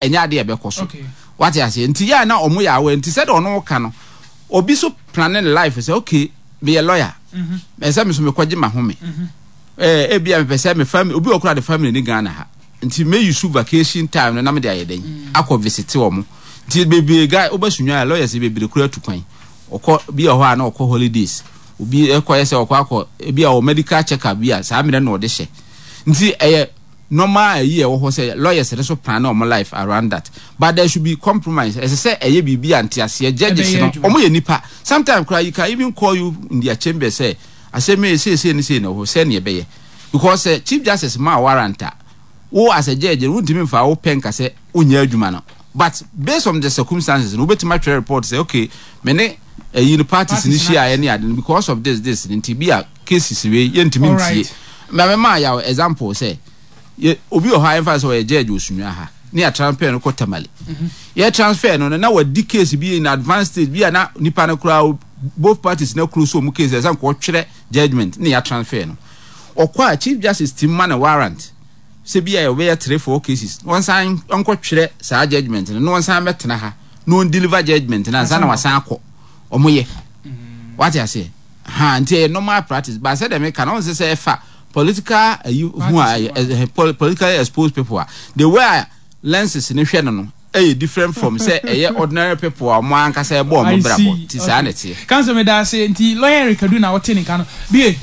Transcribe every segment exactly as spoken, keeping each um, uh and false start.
Ɛnyɛ adeɛ ɛbɛkɔ so, wate aseɛ? Nti yɛ a na ɔmo yɛ awɛ. Nti sɛdeɛ ɔno ka no, obi so plan ne life sɛ, okay, meyɛ lawyer, ɛsɛ me so mekɔgye ma home. ɛɛ ebi a mepɛ sɛ me family, obi wɔ kora de family ne Ghana ha, nti me use vacation time no na me de ayɛ dɛn akɔ visit wɔn. Nti bebree guy wobɛsunwa a, lawyers bebree kura tu kwan ɔkɔ bi wɔ hɔ a, na ɔkɔ holidays. Obi ɛkɔ yɛ sɛ ɔkɔ akɔ ebi a wɔ medical check up bi a, saa mmerɛ na ɔde hyɛ. Nti ɛyɛ normal. Ayi ɛwɔ hɔ sɛ lawyers no so plan ɔmo life around that, but there should be compromise. Ɛsɛ sɛ ɛyɛ biribi a nteaseɛ. Judges no, ɔmo yɛ nipa. Sometimes kora you can even call you in their chamber sɛ asɛm yi seesei ne sei na ɛwɔ hɔ sɛ neɛ ɛbɛyɛ, because sɛ Chief Justice ma warrant a, wo as a judge no, wontumi nfa wo pɛ nka sɛ wonyɛ adwuma no, but based on the circumstances no, wobɛtumi atwerɛ report sɛ, okay, me ne ɛyi no parties ne hyia ne ade no, because of this this nti bi a cases wei yɛntumi ntie. Mɛ mɛ yaw example sɛ yɛ obi wɔ hɔ a, yɛmfa sɛ ɔyɛ judge wɔ Sunyani ha ne yɛ transfer no kɔ Tamale. Yɛ transfer no no na wadi case bi in advanced stage bi a, na nipa no koraa, both parties na close wɔn case, ɛsɛ nkɔ twerɛ judgement ne yɛ transfer no ɔkɔ a, Chief Justice ti ma no warrant sɛ bi a yɛbɛyɛ three four cases, wɔn san nkɔ twerɛ saa judgement no na wɔn san bɛtena ha na wɔn deliver judgement na ansa na wɔsan akɔ. Wɔn yɛ, wate aseɛ ha? Nti ɛyɛ normal practice, but sɛ dɛm ka na wɔn sɛ sɛ ɛfa political ayi ho a, ɛyɛ politically exposed people a, the way a lenses ne hwɛ no no ɛyɛ different from sɛ ɛyɛ ordinary people a wɔn ankasa ɛbɔ wɔn brabɔ. Ti saa na ɛteɛ. Counsel, mi da ase. Nti Lawyer Eric Adu na ɔte ne nka no bie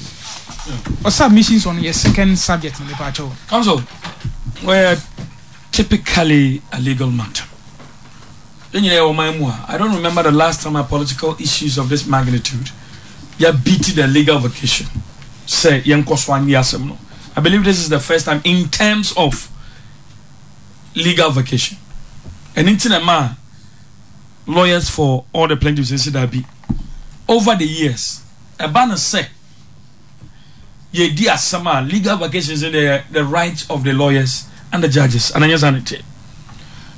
o, submissions on your second subject na mepa akyɛw. Counsel, we're typically a legal matter. Yɛn nyinaa yɛ ɔman mu a, I don't remember the last time a political issues of this magnitude yɛ beat the legal vacation sɛ yɛn kɔ so anyi asɛm no. I believe this is the first time in terms of legal vacation. Ɛne nti na ma lawyers for all the plaintiffs nsi dabi. Over the years, ɛba no sɛ yɛdi asɛm a, legal vacations in the the right of the lawyers and the judges, and ɛnyɛ saa ne te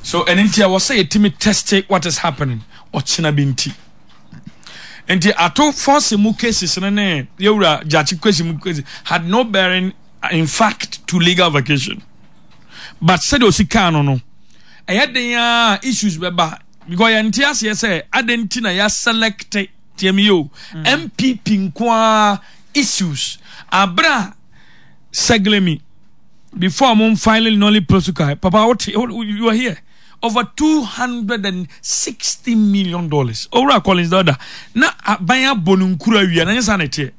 so. Ɛne nti a wɔsɛ yɛtumi test what is happening ɔkyena bi. Nti nti Ato Forson mu cases no ne yɛwura Gyakye case mu cases had no bearing in fact to legal vacation, but sɛdeɛ osi kaa no no ɛyɛ den a issues bɛba, because yɛn ti aseɛ sɛ adan nti na yɛ select tiɛmi yi o N P P nkoa issues abira Saglemi before mo filing nolle prosequi. Papa, what you are here, over two hundred and sixty million dollars. Owura Collins Dauda na aban abɔ ne nkuru awia na nyɛ saa na ɛteɛ,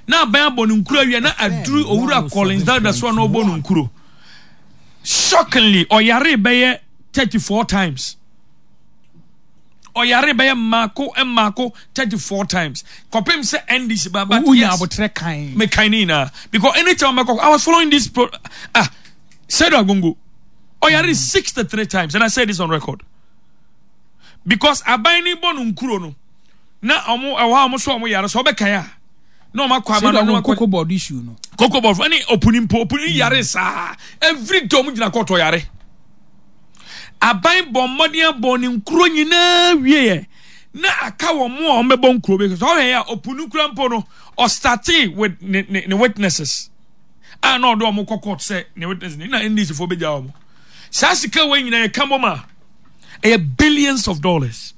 na aban abɔ ne nkuru awia na aduru Owura Collins Dauda so a na ɔbɔ ne nkuro. Shockingly, ɔyare bɛyɛ thirty four times. Ɔyare bɛyɛ mmaako mmaako thirty four times kɔpem sɛ N D C ba, but yes, abotrɛ kan. Me kan ne nyinaa, because anytime mɛkɔ, I was following this pro. Ah, Seidu Agongo ɔyare sixty three times, and I say this on record because aban ni bɔ no nkuro no na ɔmo ɛwɔ hɔ a, ɔmo so ɔmo yare so ɔbɛkan a na ɔmo akɔ ama no na ɔmo akɔ. Cocoa Board issue no. Cocoa Board ɛne opuni mpo, opuni yare saa every day ɔmo gyina kɔtɔ yare. Aban bɔ mmɔden abɔ ne nkuro nyinaa wie yɛ na aka wɔn mo a wɔn bɛbɔ nkuro bi so. Ɔhwɛ yɛ a, opuni kura mpo no, ɔstarte with ne ne ne witnesses a na ɔde wɔn kɔ court sɛ ne witnesses ne na N D C fo bɛgya wɔn. Saa sika wɔ nyinaa yɛ ka bɔ ma ɛyɛ billions of dollars.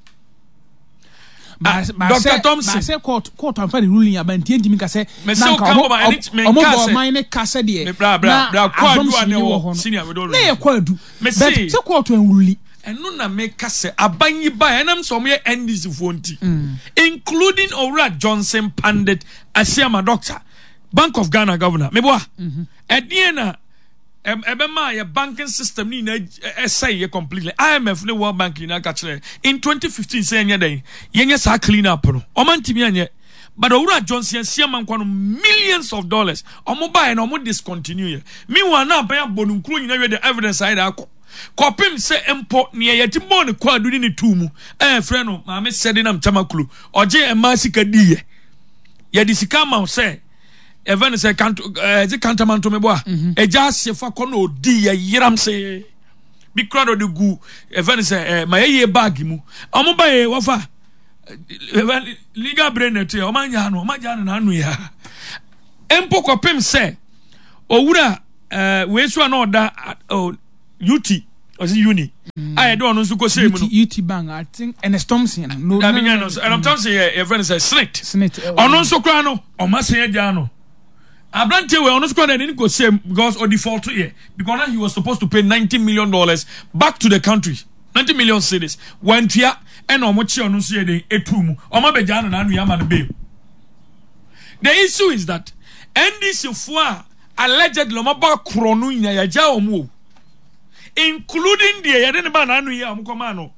Ah, Doctor Thompson. Baasɛ court court anfa ne ruling aba nti ntumi ka sɛ na nka ɔmo ɔmo bɔ ɔman ne ka sɛ deɛ na assumption ni wɔ hɔ no na yɛ kɔ adu, but sɛ court anrule. Ɛno na meka sɛ aban yi ba, ɛnam sɛ ɔmo yɛ N D C foɔ nti, including Owura Johnson Pandit Asiama, doctor, Bank of Ghana governor. Meboa, ɛdeɛ na ɛbɛma yɛ banking system ni nyinaa ɛsɛe yɛ completely. I M F ne World Bank nyinaa ka kyerɛ in twenty fifteen sɛ yɛnyɛ dɛn, yɛnyɛ saa clean up no. Ɔma ntumi anyɛ, but Owura Johnson Asiama nkwa no, millions of dollars ɔmo baeɛ na ɔmo discontinue yɛ. Meanwhile, na aban abɔ no nkuro nyinaa wie, the evidence ayɛ de akɔ kɔpem sɛ mpo nea yɛte bɔɔ ne kɔ adu ne ne tuu mu ɛyɛ no maame sɛde nam Tamaklo ɔgye mmaa sika diiɛ. Yɛde sika ama wo sɛ ɛfɛ no sɛ kanto ɛɛ kantamanto mebɔ a ɛgya ase fa kɔ na odi yɛ yeram se bi kura na ɔde gu ɛfɛ no sɛ ɛɛ ma yɛyɛ bag mu. Ɔmo ba yɛ wɔfa ɛfɛ legal brain na ɛte yɛ. Ɔmo anya no, ɔmo agya no n'ano yɛ mpo kɔpem sɛ owura ɛɛ wei so a na ɔda ɔ ut Ɔsi uni a yɛde ɔno nso kɔ sɛ mu no. U T Bank, I think Ernest Thompson. No, dabi, nyɛ no. Ernest Thompson yɛ yɛfrɛ no sɛ SSNIT. SSNIT. Ɔno nso koraa no, ɔmo asan agya no. Aberanteɛ wei, ɔno nso koraa na ɛde ne kɔ sɛ because ɔdefault yɛ, because now he was supposed to pay ninety million dollars back to the country, ninety million cedis, wantua, ɛna ɔmo kye ɔno nso yɛ den etu mu, ɔmo abɛgya no n'ano yɛ ama no bail. The issue is that N D C foɔ a allegedly ɔmo aba korɔ no nyinaa, yɛgya wɔn o, including deɛ yɛde ne ba n'ano yi a ɔmo kɔ maa no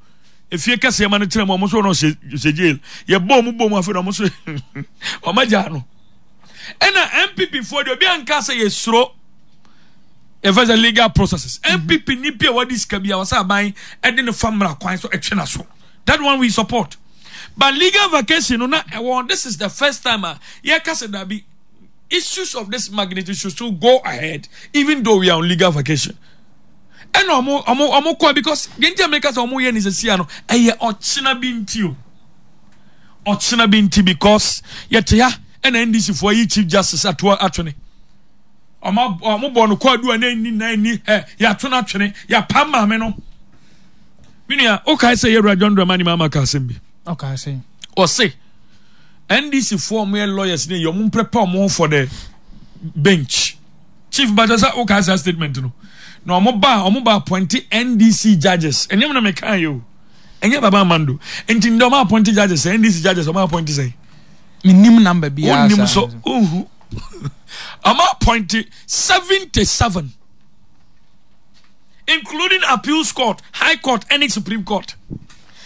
efie kɛseɛ ma no kyerɛ mu, ɔmo nso no ɔhyɛ ɔhyɛ jail, yɛbɔ ɔmo bɔ mu, afei na ɔmo nso ɔmo agya no. Ɛna N P P foɔ deɛ, obi anka sɛ yɛsuro yɛfɛ sɛ legal processes. N P P ni bi a wɔde sika bi a wɔsɛ aban ɛde ne fa mmara kwan so ɛtwe na so, that one we support. But legal vacation no na ɛwɔ, this is the first time a yɛka sɛ dabi, issues of this magnitude should still go ahead even though we are on legal vacation. Ɛna ɔmo ɔmo ɔmo kɔ because deɛ nti a meka sɛ ɔmo yɛ ne sɛsia no, ɛyɛ ɔkyena bi nti o, ɔkyena bi nti, because yɛte ha ɛna N D C foɔ yi Chief Justice ato atwene, ɔmo ɔmo bɔ no kɔɔdu a n'ani n'ani ɛ yɛato no atwene, yɛapam maame no. Mi nua, okae sɛ yɛwura John Dramani Mahama ka asɛm bi. Ɔka sɛ ɔse N D C foɔ, ɔmo yɛ lawyers ne yɛ ɔmo prepare ɔmo ho for the bench. Chief Bàtà sɛ okae saa statement no na ɔmo ba ɔmo ba appoint N D C judges. Ɛnyɛ mu na meka yi o, ɛnyɛ Baba Amando. Nti ndɛ ɔmo appoint judges, N D C judges ɔmo appoint sɛn? Menim number biara. Wonim so wohu ɔmo appoint seventy seven, including appeals court, high court ɛne Supreme Court,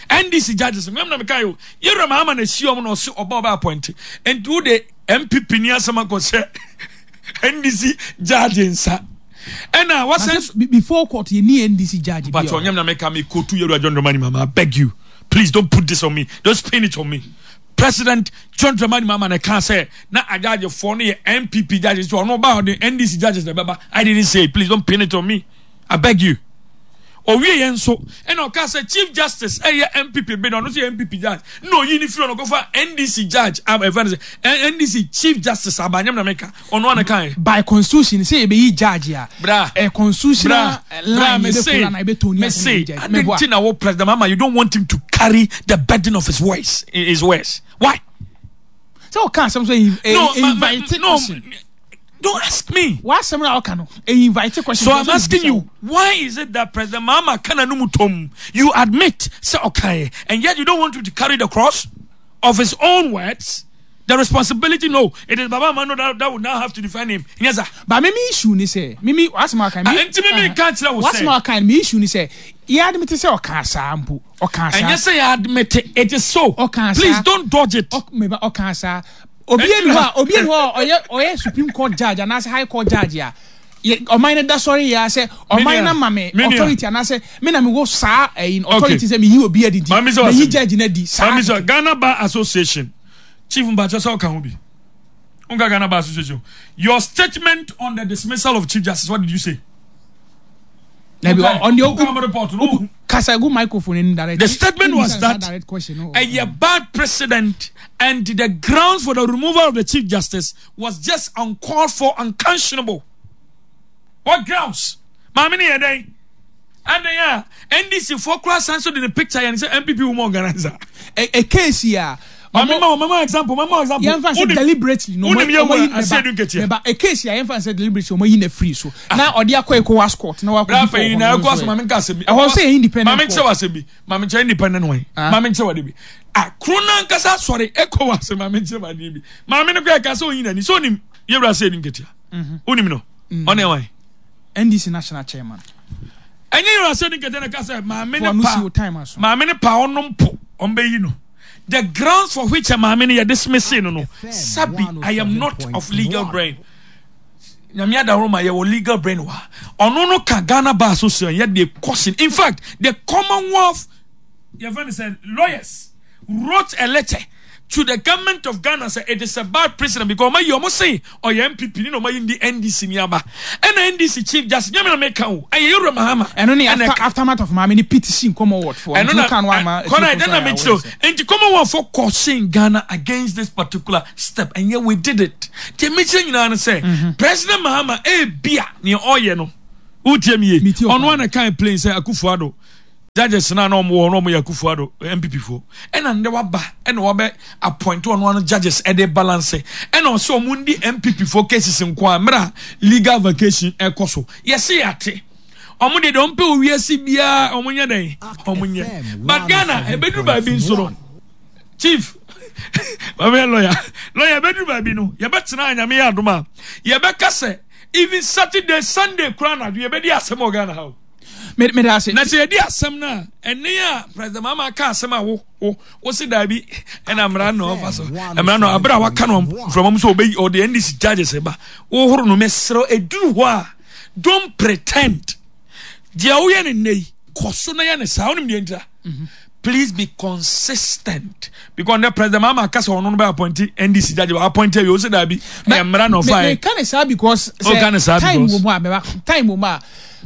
N D C judges. Mmɛm na meka yi o, yɛwura Mahama na esi ɔmo na ɔsi ɔba ɔba appoint. Nti wo de N P P ni asɛm akɔhyɛ N D C judge nsa ɛna wasan. Before court yɛ ni N D C judge bi. But ɔnyɛ na meka mi kotu yɛwura John Dramani Mahama. I beg you, please don't put this on me, don't spin it on me. President John Dramani Mahama na ɛka sɛ na agyagyefoɔ no yɛ N P P judges, so ɔno ba ɔde N D C judges na ɛbɛba. I didn't say it, please don't pin it on me, I beg you. Owie yɛn nso ɛna ɔka sɛ Chief Justice ɛyɛ N P P bi na ɔno nso yɛ N P P judge na oyi ne firi ɔno kɔfa N D C judge, ɛfɛ no sɛ N D C Chief Justice abanyam na meka ɔno ana kan. By constitution sɛ yɛbɛyi judge a, bra ɛ constitutional line yɛbɛ follow na yɛbɛ tony. Me se adi nti na wo President Mahama, you don't want him to carry the burden of his words his words Why? Sɛ ɔka asɛm so no, invite no, don't ask me. W'asɛm na ɔka no invite question. So I'm asking you, why is it that President Mahama kana no mutom, you admit sɛ ɔkae, and yet you don't want him to carry the cross of his own words, the responsibility? No, it is Baba Amando that, that would now have to defend him. Yes, sir. But me me issue ni sɛ me me w'asɛm aka me. Nti me me nka kyerɛ wo sɛ. W'asɛm aka me issue ni sɛ yɛ admit sɛ ɔka saa mpo, ɔka saa. Ɛnyɛ sɛ yɛ admit, it is so. Ɔka saa. Please don't dodge it. Ɔka ɔka saa, obi eni hɔ a obi eni hɔ a ɔyɛ ɔyɛ Supreme Court judge anaasɛ High Court judge a ɔman no da sɔre yɛ sɛ ɔman no ma me authority anaasɛ me na me wɔ saa ɛyi authority sɛ me yi obi adi nti me yi judge na di saa. Maami sɛ Ghana Bar Association chief Mbakyɛ sɛ ɔka ho bi nka Ghana Bar Association, your statement on the dismissal of Chief Justice, what did you say? Nabi on the report no. Kasa gu microphone in direct. The statement was that a bad precedent and the grounds for the removal of the Chief Justice was just uncalled for, unconscionable. What grounds? Maame ni yɛ dɛn? Adan a N D C foɔ kura san so de ne picture yɛn sɛ N P P woman organizer. A, a case here. Maame ma mama example, mama example. Yɛn fa sɛ deliberately no. Wonim yɛ wura Asiedu Nketia. Meba a case here, yɛn fa sɛ deliberately ɔmo yi na free so. Na ɔde akɔ ECOWAS court na wakɔ. Bra fɛ yi na ECOWAS, maame nka asɛm bi. Ɛhɔ sɛ yɛ independent court. Maame nkyɛn wa asɛm bi. Maame nkyɛn independent wɔn. Maame nkyɛn wa de bi. Ah, kuro nankasa sɔre ECOWAS, maame nkyɛn wa de bi. Maame no kɔ ɛka sɛ oyin n'ani so onim yɛ wura Asiedu Nketia. Onim no. Ɔne ɛwan. N D C national chairman. Ɛnyɛ yɛ wura Asiedu Nketia na ɛka sɛ maame ne pa maame ne pa ɔnom po ɔmbɛyi no. The grounds for which a maame no yɛ dismiss no no sabi, I am not of legal brain. Nyame adahoro ma yɛwɔ legal brain wa ɔno no ka Ghana Bar Association yɛ de caution. In fact, the Commonwealth yɛfɛ no sɛ lawyers wrote a letter to the government of Ghana say it is a bad precedent because ɔmo yi ɔmo say ɔyɛ N P P ni na ɔmo yi ndi N D C ni aba ɛna N D C Chief Justice, nyame na meka o, ɛyɛ Yewura Mahama. Ɛno ne after aftermath of maame ni petition Commonwealth for. Ɛno na kɔnɔ ɛdɛ na mekyerɛ o, nti Commonwealth for caution Ghana against this particular step and yet we did it. Nti mekyerɛ nyinaa no sɛ President Mahama ebia nea ɔyɛ no Wotie mi ye? Ɔno ana kan plain sɛ Akufo Addo judges na na ɔmo wɔ na ɔmo yɛ Akufo Addo N P P fo, ɛna ndɛ waba ɛna wabɛ appoint ɔno ano judges ɛde balance, ɛna ɔsɛ ɔmo ndi N P P fo cases nko a mmerɛ legal vacation ɛkɔ so. Yɛsi yate ɔmo de deɛ ɔmo pɛ wɔ wiase biara ɔmo nyɛ dɛn ɔmo nyɛ, but Ghana ebeduru baabi nso no, chief maame yɛ lawyer lawyer ebeduru baabi no, yɛbɛtena Anyame yɛ adom a yɛbɛka sɛ even Saturday, Sunday koraa na yɛbɛdi asɛm wɔ Ghana ha o. Mede ase. Na sɛ yɛdi asɛm no a, ɛne a President Mahama ka asɛm a wo wo wo se daabi, ɛna mmara na ɔfa so, mmara no abere a waka no mframa mu sɛ ɔbɛyi ɔde N D C judges ba wohoro no. Mesrɛ, ɛduru hɔ a, don't pretend. Deɛ woyɛ ne nnɛ yi, kɔ so na yɛ ne saa. Wonim deɛ ntira? Please be consistent, because ne President Mahama aka sɛ ɔno no bɛ appoint N D C judge, bɛ appoint awie, wo se daabi, ɛyɛ mmara na ɔfa yɛ. Meka ne saa because sɛ time wɔ mu a mɛba time wɔ mu a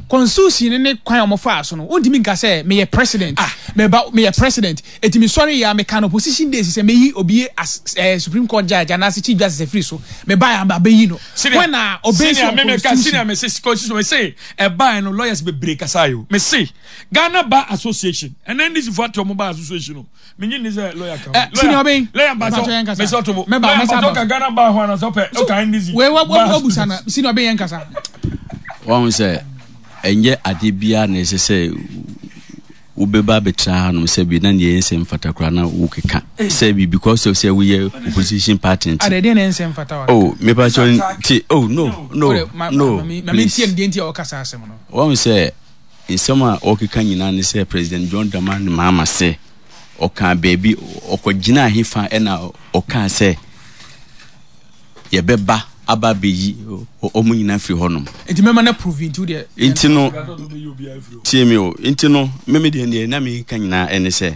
constitution ne kwan a wɔfa so no, wontumi nka sɛ meyɛ president, ah, meba meyɛ president eti mi sɔre yɛ a meka no opposition days sɛ meyi obi as eh, Supreme Court judge anaasɛ Chief Justice afiri so, meba yɛ abɛyi no when a obey on constitution. Senior, me se constitution, me se ɛbaa no, lawyers bebree kasa yi o. Me se Ghana Bar Association ɛnna N D C fo ate ɔmo bar association no, me nyi ni sɛ lawyer kan. Ɛ senior bɛn? Lawyer mpatɔ, me sɛ ɔtobo lawyer mpatɔ ka Ghana Bar ho anasɛ ɔpɛ ɔka N D C. Wei wa wa busa na senior bɛn yɛn kasa. Wɔn sɛ ɛnyɛ adeɛ biara na ɛsɛ sɛ wobɛba abɛtena hanom sɛ bi na neɛ ɛnsɛ mfata koraa na wokeka sɛ bi because of sɛ woyɛ opposition party nti. Adeɛ na ɛnsɛ mfata wa. Oh, mepa kyɛw nti, oh, no, no, no, please. Wɔn sɛ nsɛm a ɔkeka nyinaa ne sɛ President John Dramani Mahama sɛ ɔkaa baabi ɔkɔgyina ahefa ɛna ɔkaa sɛ yɛbɛba aba abɛyi ɔmo nyinaa firi hɔnom. Nti mɛma na prove nti deɛ. Nti no, tie mi o, nti no mímí deɛ deɛ na mi ka nyinaa ɛne sɛ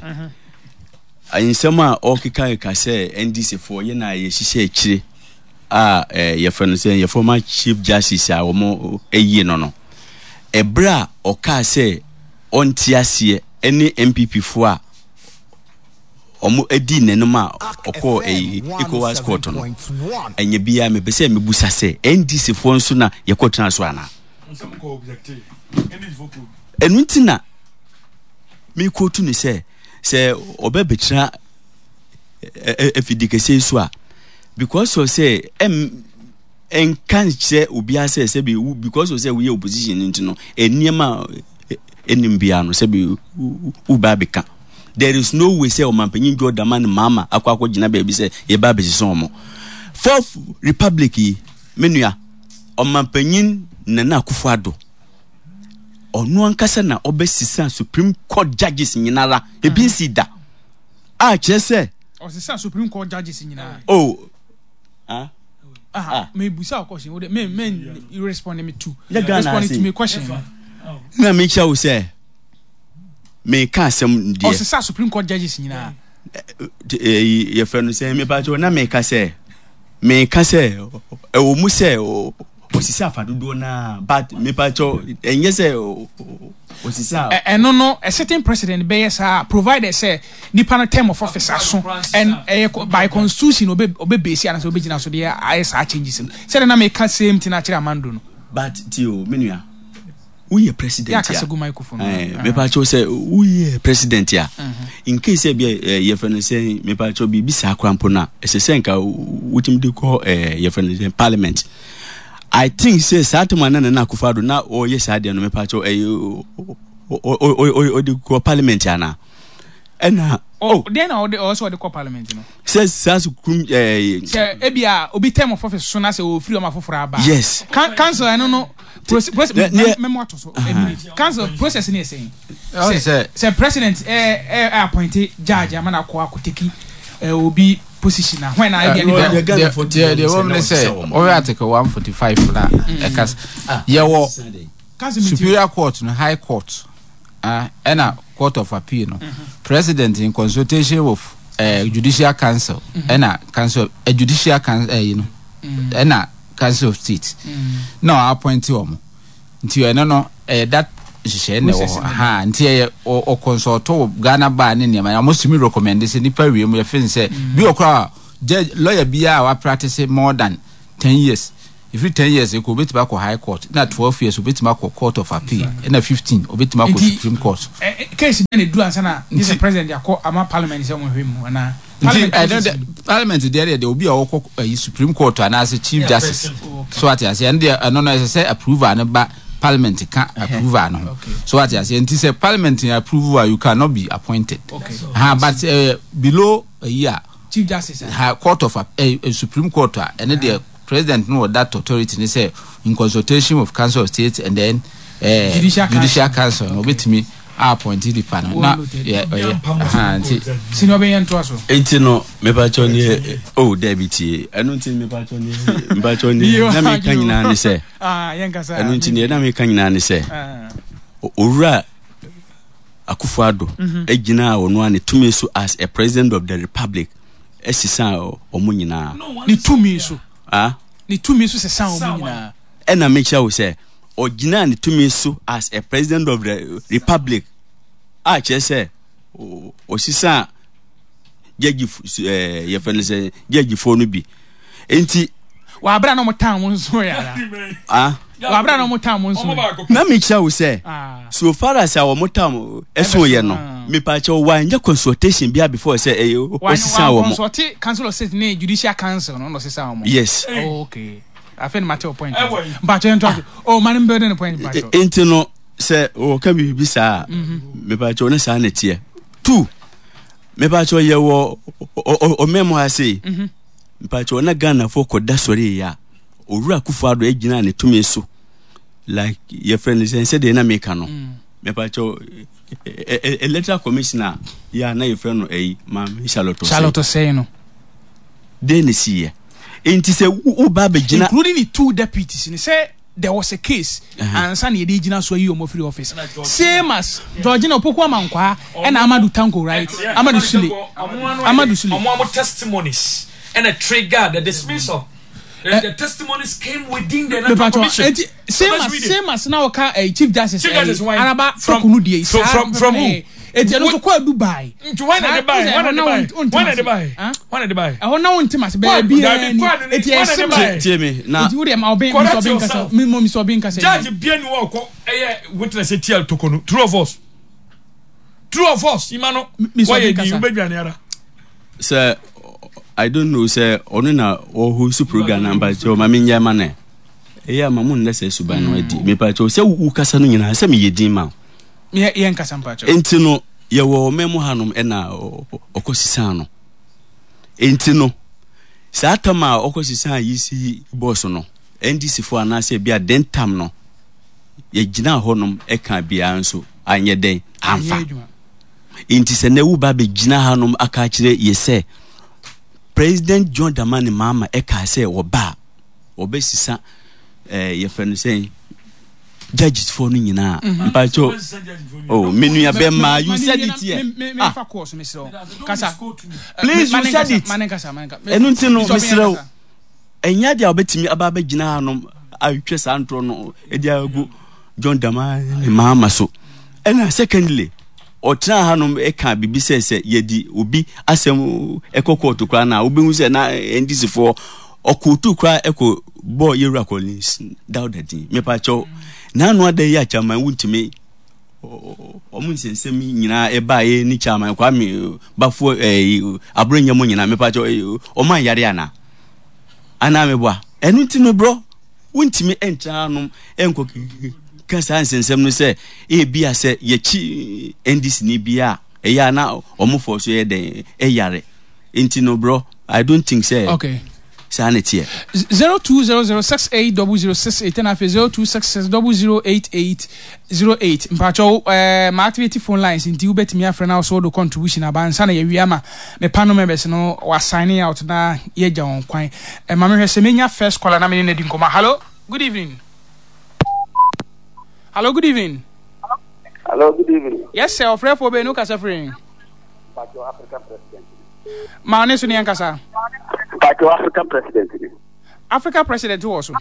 nsɛm a ɔkeka keka sɛ N D C foɔ yɛ na yɛhyehyɛ akyire a ɛɛ yɛfrɛ no sɛ yɛ former Chief Justice a wɔn ayie no no ɛberɛ a ɔkaa sɛ ɔnte aseɛ ɛne N P P foɔ a wɔn adi n'anim a ɔkɔɔ ɛyi ECOWAS court no, ɛnyɛ biara. Mepɛ sɛ mebusa sɛ N D C foɔ nso na yɛkɔ tena so anaa? Ɛno nti na mekɔtu ne sɛ sɛ ɔbɛbɛtena afidi kɛseɛ so a, because of sɛ ɛm ɛnka nkyerɛ obiara sɛ sɛbi because of sɛ woyɛ opposition nti no, nneɛma ɛnim biara no sɛbi woba abɛka. There is no way sɛ ɔmanpanyin John Dramani Mahama akɔ akɔgyina baabi sɛ yɛba abɛsesa wɔn. Fourth Republic yi, me nua, ɔmanpanyin Nana Akufo Addo ɔno ankasa na ɔbɛsesa Supreme Court judges nyinara, ebi nsi da a kyerɛ sɛ. Ɔsesa Supreme Court judges nyinaa. Oh, ah. Ah, me busa question wo de me me you respond me to respond to me question. Na me kyerɛ wo sɛ meka asɛm deɛ. Ɔsesa Supreme Court judges nyinaa. Yɛfrɛ no sɛ mepa kyɛw na meka sɛ meka sɛ ɛwɔ mu sɛ ɔsisa afa dodoɔ naa, but mepa kyɛw, ɛnyɛ sɛ ɔsisa. Ɛno no, a certain president bɛyɛ saa, provided sɛ nipa no term of office aso and ɛyɛ by constitution obe obe base anasɛ obe gyina so deɛ ayɛ saa changes no, sɛdeɛ na meka same thing akyerɛ Amando no. But ti o, me nua, woyɛ president a yɛ akasa gu microphone. Mepa kyɛw sɛ woyɛ president a, in case sɛ bia yɛfrɛ no sɛ mepa kyɛw biribi saa kora mpo no a, ɛsɛ sɛ nka wotumi de kɔ yɛfrɛ no sɛ parliament. I think sɛ saa time a na Nana Akufo Addo na ɔyɛ saa deɛ no, mepa kyɛw, ɛyɛ ɔde kɔ parliament ana ɛna. Oh, den na ɔde ɔsɛ ɔde kɔ parliament no. Sɛ saa sukum ɛɛ. Sɛ ebi a obi term of office so na sɛ ofiri ɔmo afoforɔ aba. Yes. Council ɛno no process mɛmo ato so a minute. Council process ni yɛ sɛn? Sɛ sɛ president ɛ ɛ appoint judge ama na akɔ akɔ take ɛ obi position na when na ebi a nipa. Deɛ deɛ wɔm ne sɛ ɔyɛ Article one forty five na ɛka yɛwɔ Superior Court no, High Court ɛna Court of Appeal no, mm -hmm. President in consultation with uh, Judicial Council ɛna mm -hmm. Council uh, Judicial Council uh, you know, ɛna mm -hmm. Council of State mm. na ɔ appoint wɔn. Nti ɛno no ɛyɛ that nhyehyɛ na ɛwɔ hɔ ha. Nti ɛyɛ ɔ consult wɔ Ghana Bar ne nneɛma na wɔn sumi recommend sɛ nipa wie mu yɛfin sɛ bi wɔ koraa judge, lawyer biara a wa practice more than ten years. Ɛfiri ten years ɛkɔ, obɛtumi akɔ High Court, na twelve years obɛtumi akɔ Court of Appeal, ɛna fifteen obɛtumi akɔ Nti- Supreme Court. Eh, eh, case bɛn na edu ansa na gye sɛ Nti- president akɔ ama parliament sɛ ɔmo hwɛ mu anaa? Nti ɛno process de mu. Parliament deɛ deɛ deɛ obi a ɔkɔ ɛyi Supreme Court anaasɛ Chief Yeah, Justice. president. So ate aseɛ, ɛno deɛ, ɛno no ɛsɛ sɛ approval no ba parliament, ka approval no ho. Okay. So ate aseɛ, nti sɛ parliament approve a, you cannot be appointed. Okay. Ha, but uh, below ɛyi a Chief Justice a. Ha, court of uh, uh, Supreme Court a, ɛno deɛ, president no wɔ that authority ne sɛ in consultation with Council of State and then uh, Judicial Judicial Council. Council no, obetumi appoint nipa no na Well noted. yɛ ɔyɛ aha nti. Senior, ɔbɛyɛ ntoa so. Nti no, mepakyɛw ne, oh, dabi, tie, ɛno nti mepakyɛw ne mepakyɛw ne na meka nyinaa ne sɛ Ah, yɛn kasa. Ɛno nti neɛ na meka nyinaa ne sɛ Ah, Owura Akufo Addo gyina a ɔno a ne tumi so as a president of the republic ɛsesa ɔmo nyinaa. Ne tumi so. Ah. Ne tumi so sesa wɔn nyinaa. Ɛna mekyerɛ wo sɛ ɔgyina ne tumi so as a president of the republic a, kyerɛ sɛ ɔ- ɔsesa judge, ɛɛ yɛfɛ no sɛ judgefoɔ no bi nti. Wabra na ɔmo tan mo nso yɛ ara. Ah. Wabra na ɔmo tan mo nso yɛ. Na mekyerɛ wo sɛ Ah. so far as a wɔn tam ɛso yɛ no, Ah. mepakyɛw, wanyɛ consultation bia before sɛ ɛyɛ ɔsesa Wɔn wɔn. consult Council of State ne Judicial Council no na ɔsesa wɔn. Yes. Oh, okay. Afei ni ma te o point. Ɛwɔ yi. Mpatsɔ, yɛn to aso. Oh, man, n bɛ ne point, mpatsɔ. E- nti no, sɛ wɔka biribi saa a, mepakyɛw, ne saa na teɛ. Two, mepakyɛw, yɛwɔ ɔman mu ha sei, mepakyɛw, na Ghanafoɔ kɔda sɔre yi a, Owura Akufo Addo agyina ne tumi so like yɛfrɛ no sɛ sɛdeɛ na meka no, mepakyɛw, e- e- electoral commissioner yɛ a na yɛfrɛ no ɛyi, Maame Charlotte Osei. Charlotte Osei no. Den ne siiɛ? Nti sɛ wo- woba abɛgyina Including the two deputies ni sɛ there was a case Uh-huh. ansa na yɛde gyina so ayi wɔn afiri office, same as Georgina Opoku Amankwa ɛna Amadu Tanko, right? Amadu Sule, Amadu Sule. Ɔmo amo testimonies ɛna trigger the dismissal. The, the testimonies came within the Electoral Mepacho, Commission. eti same Let's as read it. same as na ɔka eh, Chief Justice Chief Justice why? Araba From- Torkornoo die. so from- from who? Eti ɛno nso kɔ Dubai. Nti why na de buy? Why na de buy? Why na de buy? Why na de buy? Ɛhɔ na wɔn ntoma se bɛɛ bi Dabi, ni kwadu ni- eti why na de ɛsɛ buy? Tie me na eti wo deɛ ma ɔbɛn Correct Mister Ɔbɛn kasa. yourself. Mi mo Mister Ɔbɛn kasa. Judge bia ni wɔ kɔ ɛyɛ witness etia Torkornoo. True or false? True or false? Ima no. Mister Wɔyɛ Ɔbɛn di kasa. wobɛdwane ara. Sɛ I don't know sɛ ɔno na ɔhost program na, mpakyɛw, ma menyɛ ma no ɛyɛ ama mo nnɛ sɛ suban no adi. Mepakyɛw, sɛ wo kasa no nyinaa sɛ meyɛ din ma wo. Yɛ yɛn kasa, mpakyɛw. Enti no, yɛwɔ ɔman mu hanom, ɛna ɔ- ɔ- ɔkɔ sisan no. Enti no, saa tam a ɔkɔ sisan yi si bɔɔso no, N D C foɔ anaasɛ bi a den tam no yɛgyina hɔnom ɛka biara nso anyɛ dɛn amfa. Anyɛ adwuma. Nti sɛ na wo ba bɛgyina hanom aka akyerɛ yɛ sɛ President John Dramani Mahama ɛka sɛ wɔba a wɔbɛsisa ɛɛ yɛfrɛ no sɛ judges foɔ no nyinaa, mpakyɛw, oh, me nua bɛma, you said it here. Me me Ah. fa course, mi srɛ wo. Kasa. Please, you said it. Mane kasa, mane kasa. Ɛno nti no, Mister Ɔbɛn mesrɛ wo, kasa. Ɛnyɛ deɛ a wobɛtumi aba abɛgyina hanom ahwɛ saa ntorɔ no ɛde agu John Dramani Mahama so. Ɛna secondly, ɔtena hanom ɛka biribi sɛ sɛ yɛde obi asɛm ɛkɔ kɔɔto koraa na wobɛhu sɛ na N D C foɔ ɔkɔɔtu koraa ɛkɔ bɔɔ yɛwura Collins Dauda din. Mepakyɛw, n'ano ada yi akyaman wontumi ɔmo nsɛnsɛm nyinaa ɛbaeɛ ne Chairman Kwame Bafoɔ ɛɛ Aburonyɛ mu nyinaa, mepakyɛw, ɔmo anyare ana anaa meboa? Ɛno nti no, borɔ wontumi ɛntena hanom ɛnkɔ ka saa nsɛnsɛm no sɛ ebia sɛ yɛkyi N D C ni bi a ɛyɛ a na ɔmo fɔ so yɛ dɛn ɛyare. Nti no, borɔ, I don't think sɛ Okay. saa ne teɛ. zero two zero zero six eight double zero six eight ɛna afei zero two six six double zero eight eight zero eight. Mpatsɔ, ɛɛ ma activate phone lines nti wobɛtumi afrɛ na ɔso do contribution aba nsa na yɛwie ama me panel members no wa signing out na yɛgya wɔn kwan. Ɛma mehwɛ sɛ menya first caller na mene no adi nkɔmmɔ. Hello, good evening. Hello, good evening. Hello, good evening. Yes sir, ɔfrɛfoɔ bɛyi no kasa firi. Mpacho African President. Ma ne so ne yɛn kasa. Mpacho African President ni. Africa President wɔ so.